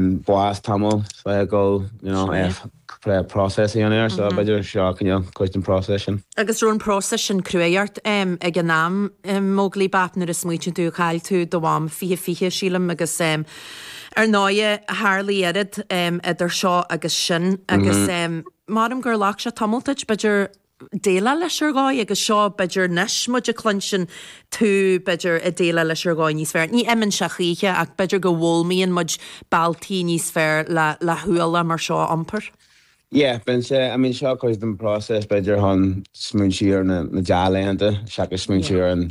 Bás tamall le go process a dhéanamh air, so b'fhéidir seo cineál cuid den process sin. Agus raibh an process sin cruaidh ort ag an am, Móglaí Bap, nuair a smaoitíonn tú, chaill tú do mham 2020, sílim, agus ar ndóighe tharlaigh oiread idir seo agus sin agus measaim gur ghlac sé tamall duit, b'fhéidir, déileáil leis ar dhóigh agus seo b'fhéidir anois muid ag cluinstin tú b'fhéidir ag déileáil leis ar dhóigh níos fearr. Ní imíonn sé choíche ach b'fhéidir go bhfoghlaimíonn muid bealtaí níos fearr le le hualach mar seo a iompar. Yeah, bíonn sé, I mean seo cuid den process b'fhéidir chun smaointiú ar na na dea-laethanta seachas smaointiú ar an.